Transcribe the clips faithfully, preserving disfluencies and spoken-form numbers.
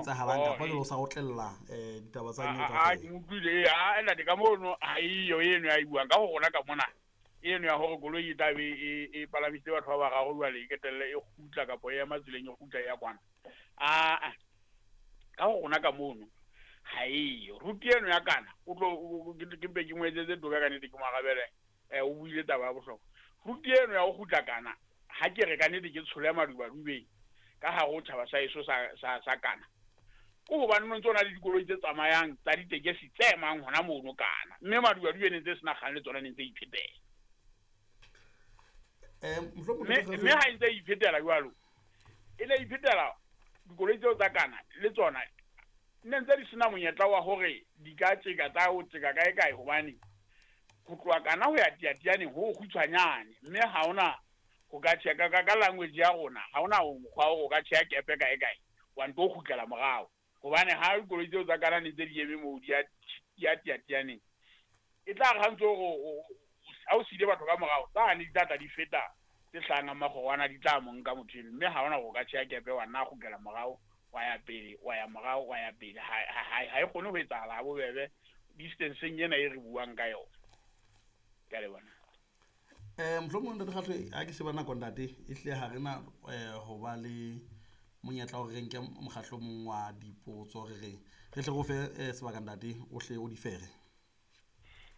etsahalang oh, kapa eh. jwale o sa otlella um ditaba tsa nyewe a a ke kaofela. Utlwile, a ntate, ka mono ha eyo eno ya e buang ka ho rona ka mona, eno ya hore koloi e tlabe e e palamisitse batho ba bararo, jwale e ketelle e kgutla kapa e ema tseleng e kgutla e ya kwana. Aa, ka ho rona ka mono ha eyo route eno ya kana. O tlo o- ke ke mpe ke mo etsetse toka ka nnete, ke mo arabele. um o buile taba ya bohlokwa, route eno ya ho kgutla kana. Ha ke re ka nnete ke tshole madubadubeng ka hare ho tjhaba sa heso sa sa sa kana, ke hobane no ntse o na le dikoloi tse tsamayang tsa ditekesi tse emang hona mono kana, mme madubadube ne ntse sena kgang le tsona, ne ntse iphetela. um mohlomong mme ntate mme Kgahlwe- ha e ntse e iphetela jwalo, e ne iphetela dikoloi tseo tsa kana le tsona ne ntse di sena monyetla wa hore di ka tjeka tsa ho tjeka kae kae, hobane ho tloha kana ho ya Teyateyaneng ho kgutshwanyane, mme ha hona ho ka tjheha ka ka ka language ya rona, ha hona mokgwa wa hore o ka tjheha kepe kae kae wa nto kgutlela morao, hobane ha dikoloi tseo tsa kana ne ntse di eme moo di ya di ya Teyateyaneng, e tla re ha ntse hore ha o siile batho ka morao, tsane di tla tla di feta tse hlahang makgorwana, di tla mo nka motho eno, mme ha hona hore o ka tjheha kepe wa nna kgutlela morao, wa ya pele, wa ya morao, wa ya pele. Ha ha ha e kgone ho etsahala ha bobebe distanceng ena e re buang ka yona. Ke a leboha. um mohlomong ntate Kgahlwe, ha ke sheba nako ntate, e hlile ha re na um ho ba le monyetla wa hore re nke mokgahlo o mong wa dipotso, re re re hle re o fe eh, sebaka ntate, o hle o di fere.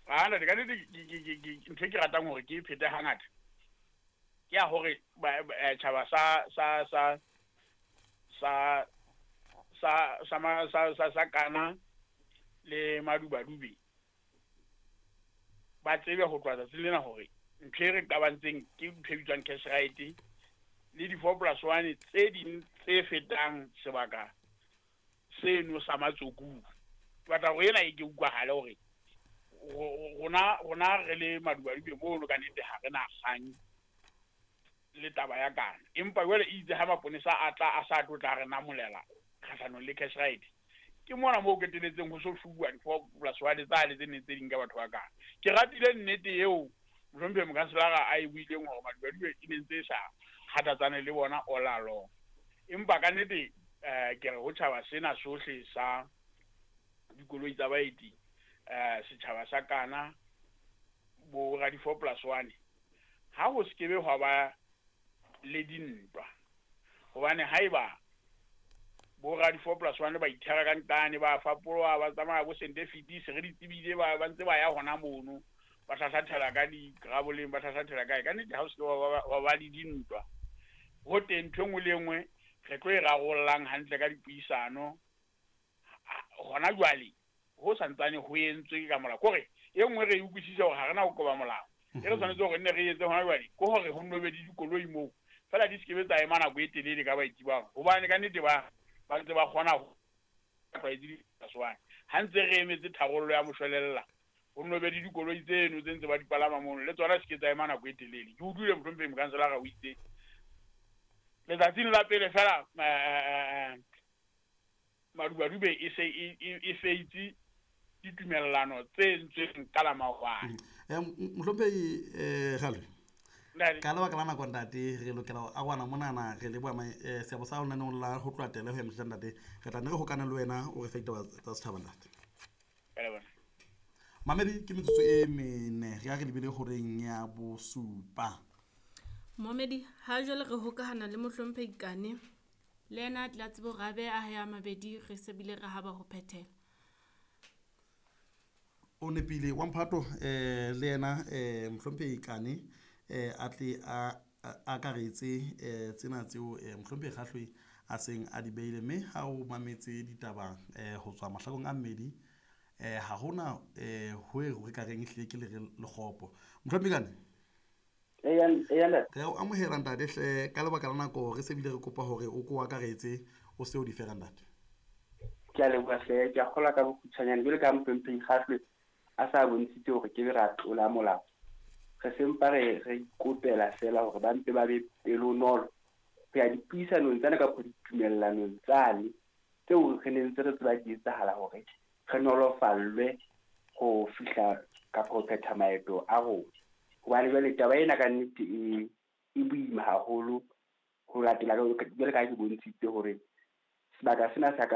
Ah, ntate, ka nnete ke- ke- ke- ke- ntho e ke ratang hore ke e phete hangata ke ya hore ba- ba- eh, tjhaba sa sa sa sa sa sa ma- sa sa sa kana le madubadube ba tsebe ho tloha tsatsing lena hore ntho e re qabantseng ke ntho e bitswang cash right le di-four plus one tse ding tse fetang sebaka seno sa Matsokung. Ke batla hore ena e ke utlwahale hore ro- rona rona re le madubadube mono ka nnete ha re na kgang le taba ya kana, empa jwale e itse ha maponesa a tla a sa tlo tla re namolela kgahlanong le cash right, ke mona moo keteletseng ho so fuwa di-four plus one tsane tse neng tse ding ka batho ba kana. Ke ratile nnete eo mohlomphehi mokanselara a e buileng hore madubadube e ne ntse e sa kgathatsane le bona all along, empa ka nnete um ke re ho tjhaba sena sohle sa dikoloi tsa baeti, um setjhaba sa kana bo ra di-four plus one, ha ho se kebe hwa ba le dintwa, hobane haeba bo ra di-four plus one ba ithera ka ntane, ba fapoloha, ba tsamaya bo sente fetise, re di tsebile, ba ba ntse ba ya hona mono, ba hlahlathela ka digraboleng, ba hlahlathela kae, ka nnete ha o se ke wa ba- wa ba le dintwa ho teng. Ntho e nngwe le e nngwe re tlo e rarollang hantle ka dipuisano. Ha- hona jwale ho santsane ho entswe ka molao, kore e nngwe re e utlwisise hore ha re na ho qoba molao. E re tshwanetse hore nne re etse hona jwale ke hore ho nno be le dikoloi moo fela di se ke be tsa ema nako e telele ka baeti bao, hobane ka nnete ba ba ntse ba kgona ho tlwaetse di-plus one. Ha ntse re emetse tharollo ya moshwelella, ho nno be le dikoloi tseno tse ntse ba di palama mono, le tsona se ke tsa ema nako e telele. Ke utlwile mohlomphehi mokanselara o itse letsatsing la pele fela eh, madubadube e se e e- e feitse ditumellano tse entsweng ka la maobane. um mohlomphehi um Kgalwe, Ntate. Ka lebaka la nako ntate, re lokela ho arohana monana. Re leboha ma- eh, seabo sa lenaneong la ho tloha tele ho ya motjha ntate. Re tla ne re hokane le wena, o re fe ditaba tsa setjhaba ntate. Ke a leboha. Mamedi, ke metsotso e mene re ya re lebile horeng ya bosupa. Momedi, ha jwale re hokahana le mohlomphehi Kane, le yena a tla tsebe hore a behe a hae a mabedi, re se bile re haba ho phethela. O nepile wa mphato. um le yena um mohlomphehi Kane um a tle a a- akaretse um tsena tseo um mohlomphehi Kgahlwe a seng a di beile, mme ha o mametse ditaba um ho tswa mahlakong a mmedi, um ha hona um ho e re ka reng ehlile ke lere lekgopo. Mohlomphehi Kane. Eya, eya ntate. Re a o amohela ntate hle. Ka lebaka la nako re se bile re kopa hore o ko akaretse, o se o di fera ntate. Ke a leboha hle. Ke a kgolwa ka bokgutshwanyane jwale ka mohlomphehi Kgahlwe a sa bontshitse hore ke be ra tlola molao, re sempa re re ikopela fela hore ba mpe ba be pelonolo ho ya dipuisanong tsane kapa ditumellanong tsane tseo re ne ntse re tseba di etsahala, hore re nolofallwe ho fihla kapa ho phetha maeto a rona, hobane jwale taba ena ka nnete e e boima haholo ho latela jwale ka ha ke bontshitse hore sebaka sena sa ka.